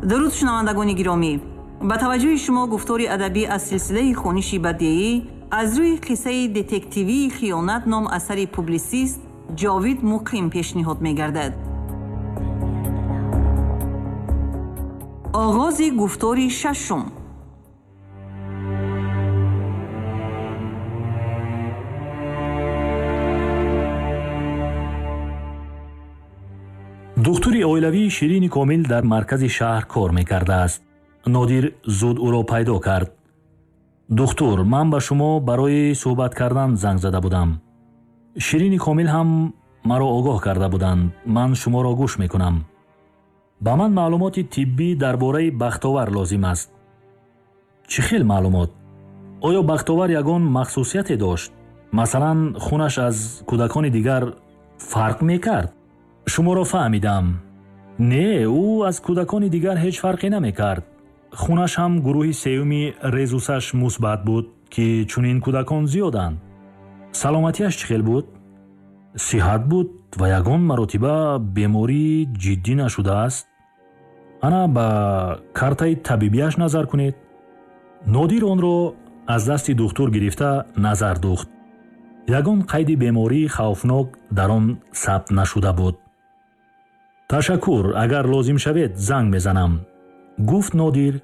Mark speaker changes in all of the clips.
Speaker 1: Дуруд, шунавандагони гиромӣ! Ба таваҷҷӯҳи шумо гуфтори адабӣ аз силсилаи хониши бадеӣ аз рӯи қиссаи детективии «Хиёнат» ном асари публисист Ҷовид Муқим пешниҳод мегардад. Оғози гуфтори шашум.
Speaker 2: Духтури оилавии Ширини Комил дар маркази шаҳр кор мекардааст. Нодир зуд ӯро пайдо кард. Духтур, ман ба шумо барои суҳбат кардан занг зада будам. Ширини Комил ҳам маро огоҳ карда буданд. Ман шуморо гӯш мекунам. Ба ман маълумоти тиббӣ дар бораи Бахтовар лозим аст. Чӣ хел маълумот? Оё Бахтовар ягон махсусияте дошт? Масалан, хунаш аз кӯдакони дигар фарқ мекард? Шуморо фаҳмидам. Не, ӯ аз кӯдакони дигар ҳеҷ фарқе намекард. Хунаш ҳам гурӯҳи сеюми резусаш мусбат буд, ки чунин кӯдакон зиёданд. Саломатиаш чӣ хел буд? Сиҳат буд ва ягон маротиба бемории ҷиддӣ нашудааст. Ана ба картаи табибиаш назар кунед. Нодир онро аз дасти духтур гирифта назар духт. Ягон қайди бемории хавфнок дар он сабт нашуда буд. Ташаккур, агар лозим шавед, занг мезанам, гуфт Нодир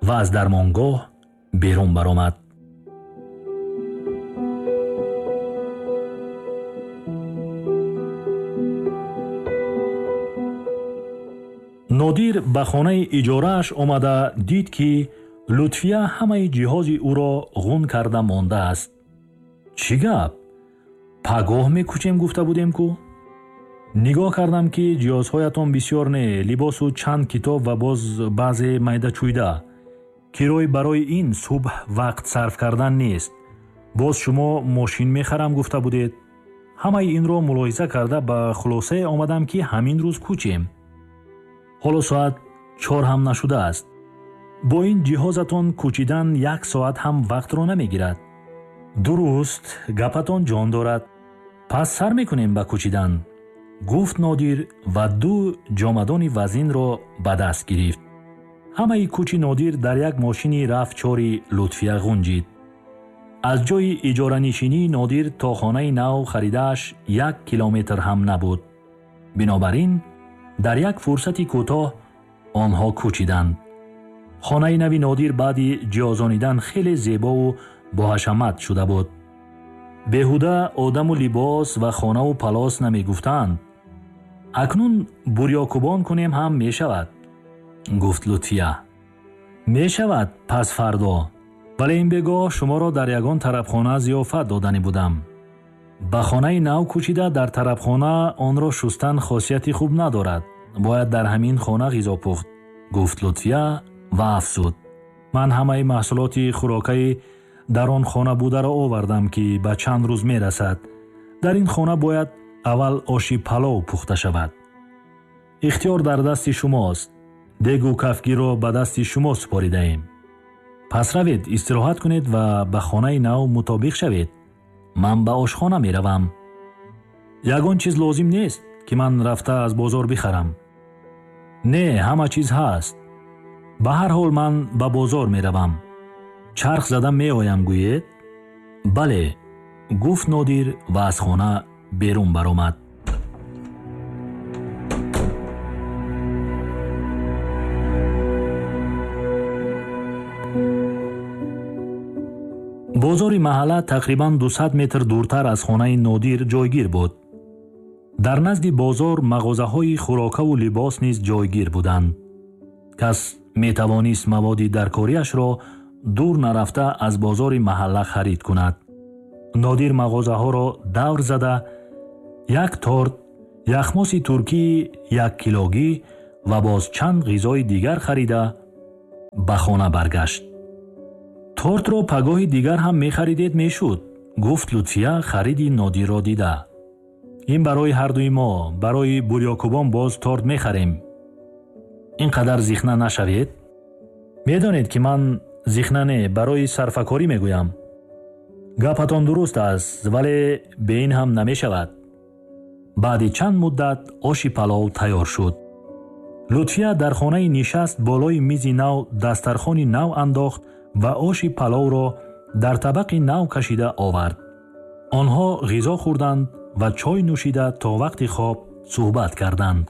Speaker 2: ва аз дармонгоҳ берун баромад. Нодир ба хонаи иҷорааш омада дид, ки Лутфия ҳамаи ҷиҳози ӯро ғун карда мондааст. Чӣ гап? Пагоҳ мекӯчем гуфта будем ку? Нигоҳ кардам, ки ҷиҳозҳоятон бисёр не, либосу чанд китоб ва боз баъзе майдачӯйда. Кирой барои ин субҳ вақт сарф кардан нест. Боз шумо мошин мехарам гуфта будед. Ҳамаи инро мулоҳиза карда ба хулосае омадам, ки ҳамин рӯз кӯчем. Ҳоло соат 4 ҳам нашудааст. Бо ин ҷиҳозатон кӯчидан 1 соат ҳам вақтро намегирад. Дуруст, гапатон ҷон дорад. Пас сар мекунем ба кӯчидан, гуфт Нодир ва 2 ҷомадони вазинро ба даст гирифт. Ҳамаи кӯчи Нодир дар як мошини рафчори Лутфия ғунҷид. Аз ҷои иҷоранишинии Нодир то хонаи нав харидааш 1 километр ҳам набуд. Бинобар ин дар як фурсати кӯтоҳ онҳо кӯчиданд. Хонаи нави Нодир баъди ҷиҳозонидан хеле зебову боҳашамат шуда буд. Беҳуда одаму либос ва хонаву палос намегуфтанд. Акнун бурёкубон кунем ҳам мешавад, гуфт Лутфия. Мешавад пас фардо, вале ин бегоҳ шуморо дар ягон тарабхона зиёфат доданӣ будам. Ба хонаи нав кӯчида дар тарабхона онро шустан хосияти хуб надорад. Бояд дар ҳамин хона ғизо пухт, гуфт Лутфия ва афзуд. Ман ҳамаи маҳсулоти хӯрокаи дар он хона бударо овардам, ки ба чанд рӯз мерасад. Дар ин хона бояд аввал оши палов пухта шавад. Ихтиёр дар дасти шумост. Дегу кафгирро ба дасти шумо супоридаем. Пас равед, истироҳат кунед ва ба хонаи нав мутобиқ шавед. Ман ба ошхона меравам. Ягон чиз лозим нест, ки ман рафта аз бозор бихарам. Не, ҳама чиз ҳаст. Ба ҳар ҳол ман ба бозор меравам. Чарх зада меоям, гӯед? Бале, гуфт Нодир ва аз хона берун баромад. Бозори маҳалла тақрибан 200 метр дуртар аз хонаи Нодир ҷойгир буд. Дар назди бозор мағозаҳои хӯрокаву либос низ ҷойгир буданд. Кас метавонист маводи даркориашро дур нарафта аз бозори маҳалла харид кунад. Нодир мағозаҳоро давр зада як торт, яхмоси туркии 1 килогӣ ва боз чанд ғизои дигар харида ба хона баргашт. Тортро пагоҳи дигар ҳам мехаридед мешуд, гуфт Лутфия хариди Нодирро дида. Ин барои ҳардуи мо, барои бурёкубон боз торт мехарем. Ин қадар зихна нашавед? Медонед, ки ман зихна не, барои сарфакорӣ мегӯям. Гапатон дуруст аст, вале бе ин ҳам намешавад. Баъди чанд муддат оши палов тайёр шуд. Лутфия дар хонаи нишаст болои мизи нав дастархони нав андохт ва оши паловро дар табақи нав кашида овард. Онҳо ғизо хӯрданд ва чой нӯшида то вақти хоб суҳбат карданд.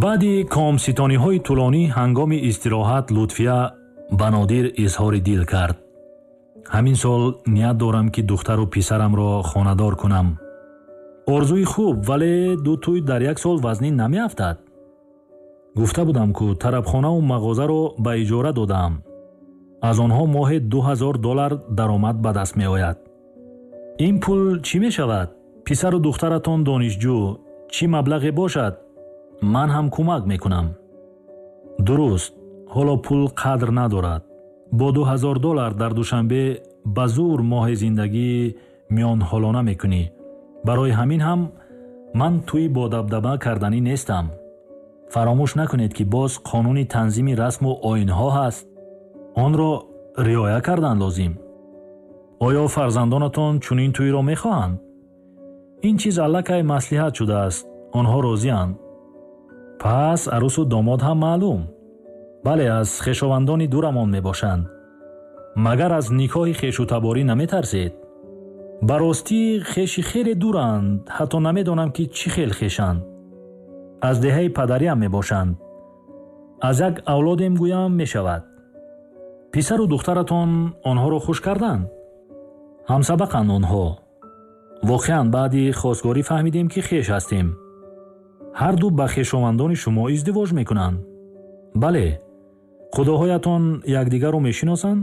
Speaker 2: Баъди комситониҳои тӯлонӣ ҳангоми истироҳат Лутфия ба Нодир изҳори дил кард. Ҳамин сол ният дорам, ки духтару писарамро хонадор кунам. Орзуи хуб, вале ду тӯй дар як сол вазнин намеафтад. Гуфта будам, ку тарабхонаву мағозаро ба иҷора додаам. Аз онҳо моҳе $2000 даромад ба даст меояд. Ин пул чӣ мешавад? Писару духтаратон донишҷӯ, чӣ маблағе бошад? Ман ҳам кӯмак мекунам. Дуруст, ҳоло пул қадр надорад. Бо $2000 дар Душанбе ба зур моҳи зиндагӣ миёнҳолона мекунӣ. Барои ҳамин ҳам ман тӯй бо дабдаба карданӣ нестам. Фаромӯш накунед, ки боз қонуни танзими расму оинҳо ҳаст. Онро риоя кардан лозим. Оё фарзандонатон чунин тӯйро мехоҳанд? Ин чиз аллакай маслиҳат шудааст. Онҳо розианд. Пас арӯсу домод ҳам маълум. Бале, аз хешовандони дурамон мебошанд. Магар аз никоҳи хешутаборӣ наметарсед? Ба ростӣ хеши хеле дуранд, ҳатто намедонам, ки чӣ хел хешанд. Аз деҳаи падариам мебошанд. Аз як авлодем гӯям мешавад. Писару духтаратон онҳоро хуш карданд? Ҳамсабақанд онҳо. Воқеан баъди хостгорӣ фаҳмидем, ки хеш ҳастем. Ҳарду ба хешовандони шумо издивоҷ мекунанд. Бале. Худоҳоятон якдигарро мешиносанд?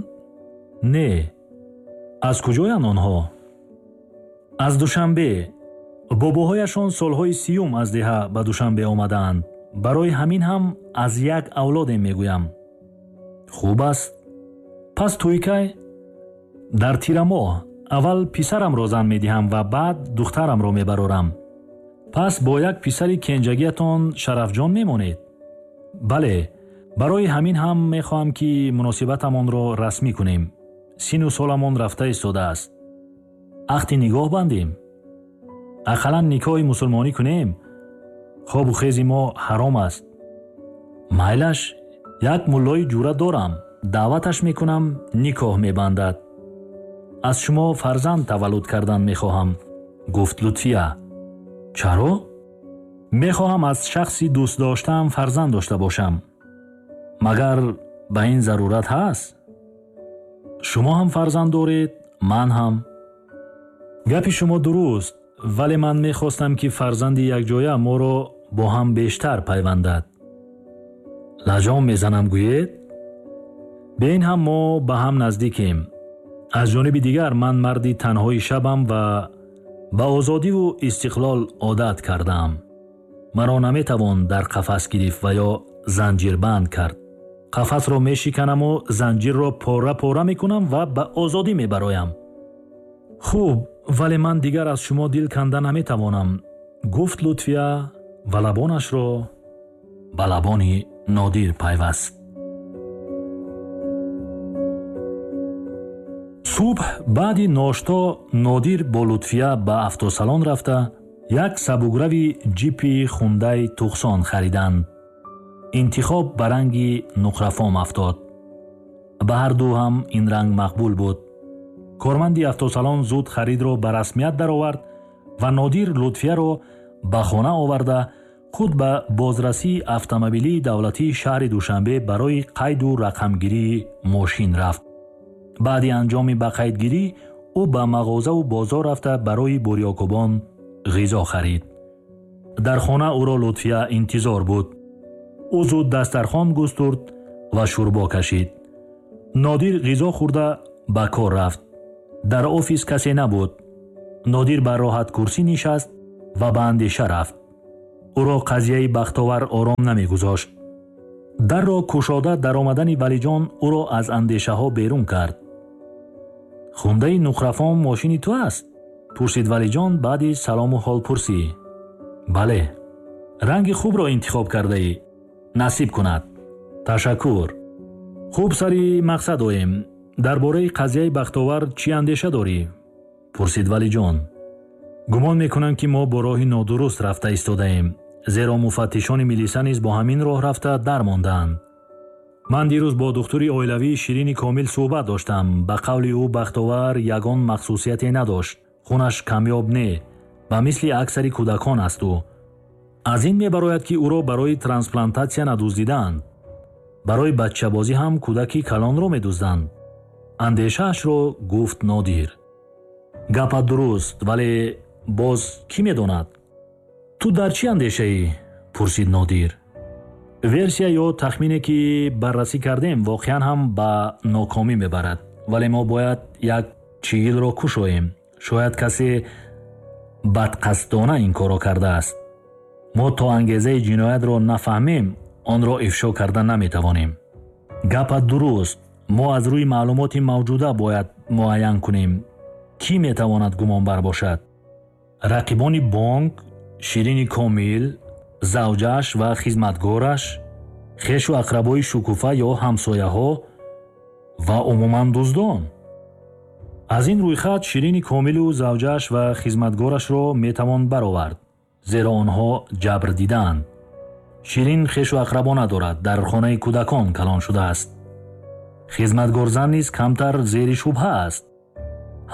Speaker 2: Не. Аз куҷоянд онҳо? Аз Душанбе. Бобоҳояшон солҳои 30 аз деҳа ба Душанбе омадаанд. Барои ҳамин ҳам аз як авлодем мегӯям. Хуб аст. Пас тӯй кай? Дар тирамоҳ. Аввал писарамро зан медиҳам ва баъд духтарамро мебарорам. Пас бо як писари кенҷагиятон Шарафҷон мемонед? Бале, барои ҳамин ҳам мехоҳам, ки муносибатамонро расмӣ кунем. Сину соламон рафта истодааст. Ахти нигоҳ бандем. Ақаллан никоҳи мусулмонӣ кунем. Хобу хези мо ҳаром аст. Майлаш, як муллои ҷура дорам. Даъваташ мекунам, никоҳ мебандад. Аз шумо фарзанд таваллуд кардан мехоҳам, гуфт Лутфия. Чаро? Мехоҳам аз шахси дӯстдоштаам фарзанд дошта бошам. Магар ба ин зарурат ҳаст? Шумо ҳам фарзанд доред, ман ҳам. Гапи шумо дуруст, вале ман мехостам, ки фарзанди якҷоя моро бо ҳам бештар пайвандад. Лаҷом мезанам гӯед? Бе ин ҳам мо ба ҳам наздикем. Аз ҷониби дигар ман марди танҳои шабам ва ба озодиву истиқлол одат кардаам. Маро наметавон дар қафас гирифт ва ё занҷирбанд кард. Қафасро мешиканаму занҷирро пора-пора мекунам ва ба озодӣ мебароям. Хуб, вале ман дигар аз шумо дил канда наметавонам, гуфт Лутфия ва лабонашро ба лабони Нодир пайваст. Субҳ баъди ношто Нодир бо Лутфия ба автосалон рафта як сабуграви ҷипи хундай Туқсон хариданд. Интихоб ба ранги нуқрафом афтод. Ба ҳарду ҳам ин ранг мақбул буд. Корманди автосалон зуд харидро ба расмият даровард ва Нодир Лутфияро ба хона оварда худ ба бозрасии автомобилии давлатии шаҳри Душанбе барои қайду рақамгирии мошин рафт. Баъди анҷоми ба қайдгирӣ ӯ ба мағозаву бозор рафта барои бурёкубон ғизо харид. Дар хона ӯро Лутфия интизор буд. Ӯ зуд дастархон густурд ва шӯрбо кашид. Нодир ғизо хӯрда ба кор рафт. Дар офис касе набуд. Нодир ба роҳаткурсӣ нишаст ва ба андеша рафт. Ӯро қазияи Бахтовар ором намегузошт. Дарро кушода даромадани Валиҷон ӯро аз андешаҳо берун кард. Хундаи нуқрафом мошини ту аст? Пурсид Валиҷон баъди салому ҳолпурсӣ. Бале. Ранги хубро интихоб кардаӣ. Насиб кунад. Ташаккур. Хуб, сари мақсад оем. Дар бораи қазияи Бахтовар чӣ андеша дорӣ? Пурсид Валиҷон. Гумон мекунам, ки мо бо роҳи нодуруст рафта истодаем, зеро муфаттишони милиса низ бо ҳамин роҳ рафта дармондаанд. Ман дирӯз бо духтури оилавии Ширини Комил суҳбат доштам. Ба қавли ӯ, Бахтовар ягон махсусияте надошт. Хунаш камёб не, ба мисли аксари кӯдакон аст ӯ. Аз ин мебарояд, ки ӯро барои трансплантатсия надуздидаанд. Барои баччабозӣ ҳам кӯдаки калонро медузданд. Андешаашро гуфт Нодир. Гапат дуруст, вале боз кӣ медонад? Ту дар чӣ андешаӣ? Пурсид Нодир. Версия ё тахмине, ки баррасӣ кардем, воқеан ҳам ба нокомӣ мебарад, вале мо бояд як чигилро кушоем. Шояд касе бадқасдона ин корро кардааст. Мо то ангезаи ҷиноятро нафаҳмем, онро ифшо карда наметавонем. Гапат дуруст. Мо аз рӯи маълумоти мавҷуда бояд муайян кунем, кӣ метавонад гумонбар бошад. Рақибони бонк, Ширини Комил, завҷааш ва хизматгораш, хешу ақрабои Шукуфа ё ҳамсояҳо ва умуман дуздон. Аз ин рӯйхат Ширини Комилу завҷааш ва хизматгорашро метавон баровард, зеро онҳо ҷабр дидаанд. Ширин хешу ақрабо надорад, дар хонаи кӯдакон калон шудааст. Хизматгорзан низ камтар зери шубҳа аст.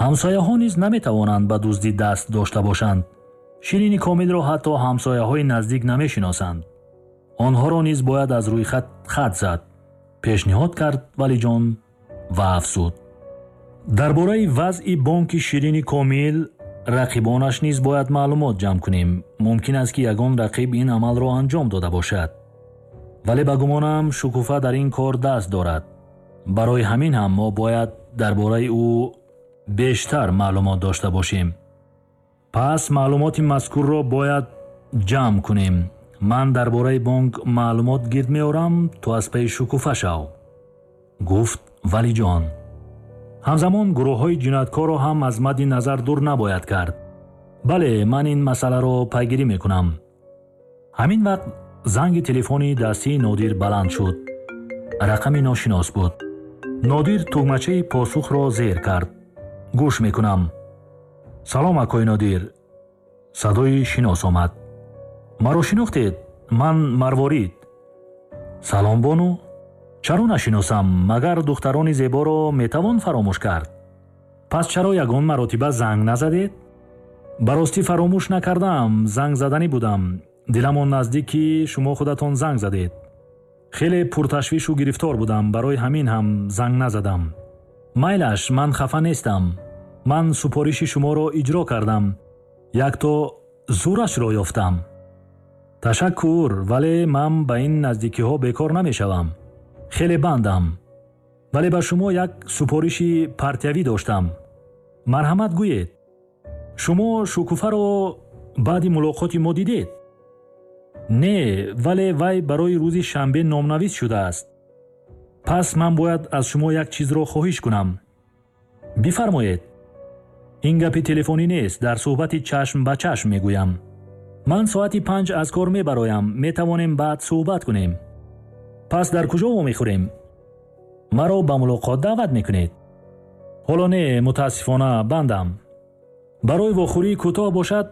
Speaker 2: Ҳамсояҳо низ наметавонанд ба дуздӣ даст дошта бошанд. Ширини Комилро ҳатто ҳамсояҳои наздик намешиносанд. Онҳоро низ бояд аз рӯйхат хат зад, пешниҳод кард Валиҷон ва афзуд. Дар бораи вазъи бонки Ширини Комил, рақибонаш низ бояд маълумот ҷамъ кунем. Мумкин аст, ки ягон рақиб ин амалро анҷом дода бошад. Вале ба гумонам, Шукуфа дар ин кор даст дорад. Барои ҳамин ҳам мо бояд дар бораи ӯ бештар маълумот дошта бошем. Пас маълумоти мазкурро бояд ҷамъ кунем. Ман дар бораи бонк маълумот гирд меорам, ту аз пайи Шукуфа шав, гуфт Валиҷон. Ҳамзамон гурӯҳҳои ҷинояткорро ҳам аз мадди назар дур набояд кард. Бале, ман ин масъаларо пайгирӣ мекунам. Ҳамин вақт занги телефони дастии Нодир баланд шуд. Рақами ношинос буд. Нодир тугмачаи посухро зер кард. Гӯш мекунам. Салом, акои Нодир. Садои шинос омад. Маро шинохтед? Ман Марворид. Салом, бону. Чаро нашиносам? Магар духтарони зеборо метавон фаромӯш кард? Пас чаро ягон маротиба занг назадед? Ба ростӣ, фаромӯш накардаам, занг заданӣ будам. Диламон наздик, ки шумо худатон занг задед. Хеле пурташвишу гирифтор будам, барои ҳамин ҳам занг назадам. Майлаш, ман хафа нестам. Ман супориши шуморо иҷро кардам. Якто зурашро ёфтам. Ташаккур, вале ман ба ин наздикиҳо бекор намешавам. Хеле бандам. Вале ба шумо як супориши партиявӣ доштам. Марҳамат, гӯед. Шумо Шукуфаро баъди мулоқоти мо дидед? Не, вале вай барои рӯзи шанбе номнавис шудааст. Пас ман бояд аз шумо як чизро хоҳиш кунам. Бифармоед. Ин гапи телефонӣ нест, дар суҳбати чашм ба чашм мегӯям. Ман соати 5 аз кор мебароям, метавонем баъд суҳбат кунем. Пас дар куҷо вомехӯрем? Маро ба мулоқот даъват мекунед? Ҳоло не, мутаассифона, бандам. Барои вохӯрии кӯтоҳ бошад,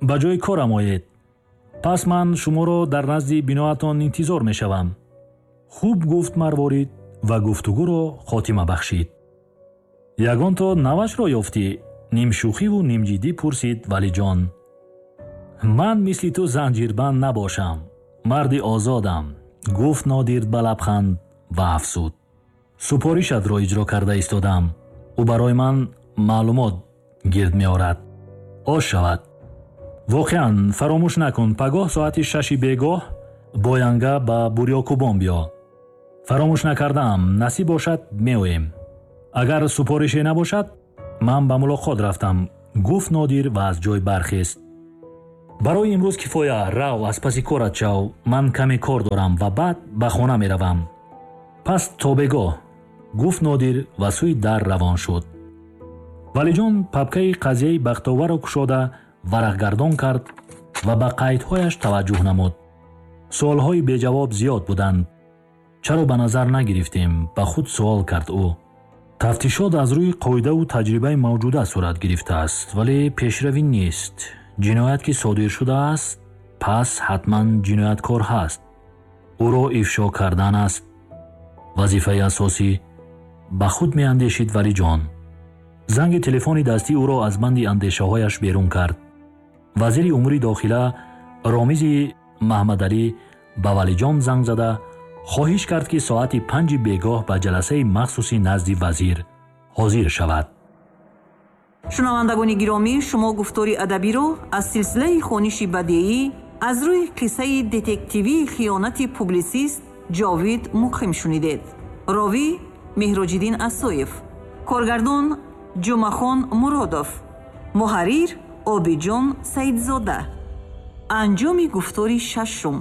Speaker 2: ба ҷои корам оед. Пас ман шуморо дар назди биноатон интизор мешавам. Хуб, гуфт Марворид ва гуфтугӯро хотима бахшид. Ягонто навашро ёфтӣ? Нимшӯхиву нимҷиддӣ пурсид Валиҷон. Ман мисли ту занҷирбанд набошам, марди озодам, гуфт Нодир ба лабханд ва афзуд. Супоришатро иҷро карда истодам. Ӯ барои ман маълумот гирд меорад. Ош шавад. Воқеан, фаромӯш накун, пагоҳ соати 6-и бегоҳ боянга ба Бурёкубон биё. Фаромӯш накардаам, насиб бошад, меоем. Агар супорише набошад, ман ба мулоқот рафтам, гуфт Нодир ва аз ҷой бархест. Барои имрӯз кифоя, рав, аз паси корат шав, ман каме кор дорам ва баъд ба хона меравам. Пас то бегоҳ, гуфт Нодир ва сӯи дар равон шуд. Валиҷон папкаи қазияи Бахтоварро кушода варақгардон кард ва ба қайдҳояш таваҷҷӯҳ намуд. Суолҳои беҷавоб зиёд буданд. Чаро ба назар нагирифтем? Ба худ суол кард ӯ. Тафтишот аз рӯи қоидаву таҷрибаи мавҷуда сурат гирифтааст, вале пешравӣ нест. Ҷиноят ки содир шудааст, пас ҳатман ҷинояткор ҳаст. Ӯро ифшо кардан аст вазифаи асосӣ, ба худ меандешид Валиҷон. Занги телефони дастӣ ӯро аз банди андешаҳояш берун кард. Вазири умури дохила Ромизи Маҳмадалӣ ба Валиҷон занг зада хоҳиш кард, ки соати 5-и бегоҳ ба ҷаласаи махсуси назди вазир ҳозир шавад.
Speaker 1: Шунавандагони гиромӣ, шумо гуфтори адабиро аз силсилаи хониши бадеӣ аз рӯи қиссаи детективии хиёнати публисист Ҷовид Муқим шунидед. Ровӣ Меҳроҷиддин Асоев, коргардон Ҷумъахон Муродов, муҳаррир Обиҷон Саидзода. Анҷоми гуфтори шашум.